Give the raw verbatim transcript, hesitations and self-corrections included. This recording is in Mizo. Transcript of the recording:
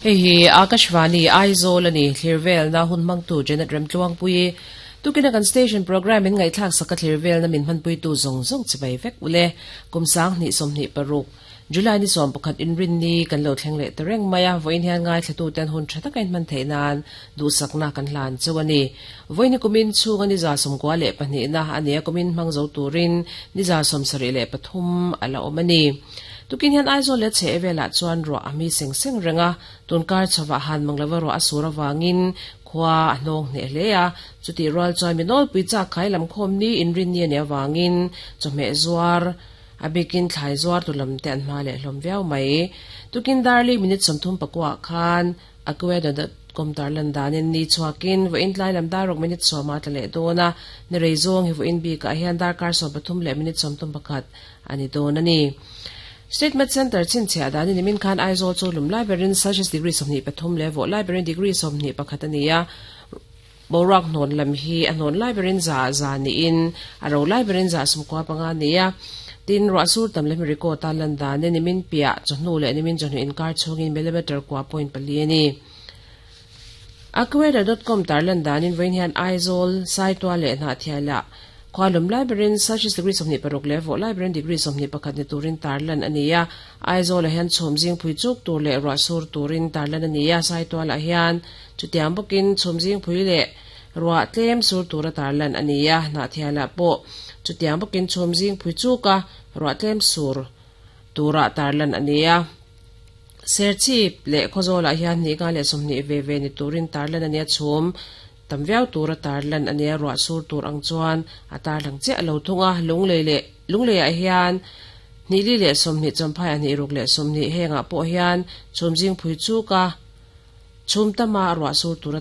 Hei hi Akashvani Aizawl ani thlirvel na hun mangtu Janet Remtluangpui tukina kan station program in ngaihthlak saka thlirvel na min hmanpui tu zawng zawng chibai vek ule kumsang hnih sawmhnih paruk July ni sawm pakhat inrin ni kan lo thleng leh ta reng mai a vawiin hian ngaithla tu ten hun tha taka in hman theih nan duhsakna kan hlan chu ani vawiin hi kumin chhunga ni za sawmkua leh pahnihna ani a kumin hmang zo turin ni za sawm sarih leh pathum a la awm ani. Tukin hian Aizawl leh chheh velah chuan ruah a mi seng seng reng a, tunkar chhovah han mang lova ruah a sur avangin khua a hnawng hneh hle a, chutih rual chuan mi nawlpui chak khai lam khawm ni inrin ni a nih avangin chawhmeh zuar a bikin thlai zuar tu lam te an hma leh hlawm viau mai. Tukin darli minute sawmthum pakuah khan Acueda dot com tarlan danin ni chhuakin vawiin tlai lam dar ruk minute sawma tla leh dawn a, ni rei zawng hi vawiin bikah hian darkar sawm pathum leh minute sawmthum pakhat a ni dawn a ni. State Med Centre chhinchhiah danin nimin khan Aizawl chu lum lai berin Celsius degree sawmhnih pathum leh vawh lai berin degree sawmhnih pakhat a ni a, boruak hnawn lam hi a hnawn lai berin za za niin a ro lai berin za sawmkua panga a ni a. Tin, ruah sur tam leh record a lan danin nimin piah chawhnu leh nimin chawhnu inkar chhungin millimeter kua point pali a ni. Acuweather dot com tarlan danin vawiin hian Aizawl, Saitual leh Hnahthialah khua lum lai berin Celsius degree sawmhnih paruk leh vawh lai berin degree sawmhnih pakhat ni turin tarlan a ni a. Aizawlah hian chhum zing phui chuk tur leh ruah sur turin tarlan a ni a. Saitualah hian chutiang bawkin chhum zing phui leh ruah tlem sur tura tarlan a ni a. Hnahthialah pawh chutiang bawkin chhum zing phui chuka ruah tlem sur tura tarlan a ni a. Serchhip leh Khawzawlah hian hnih nga leh sawmhnih ve ve ni turin tarlan a ni a, chhum tam viau tura tarlan a ni a, ruah sur tur ang chuan a tarlang chiah lo thung a. Lunglei leh Lungleiah hian hnih li leh sawmhnih Champhaiah hnih ruk leh sawmhnih hengah pawh hian chhum zing phui chuk a, chhum tama ruah sur tura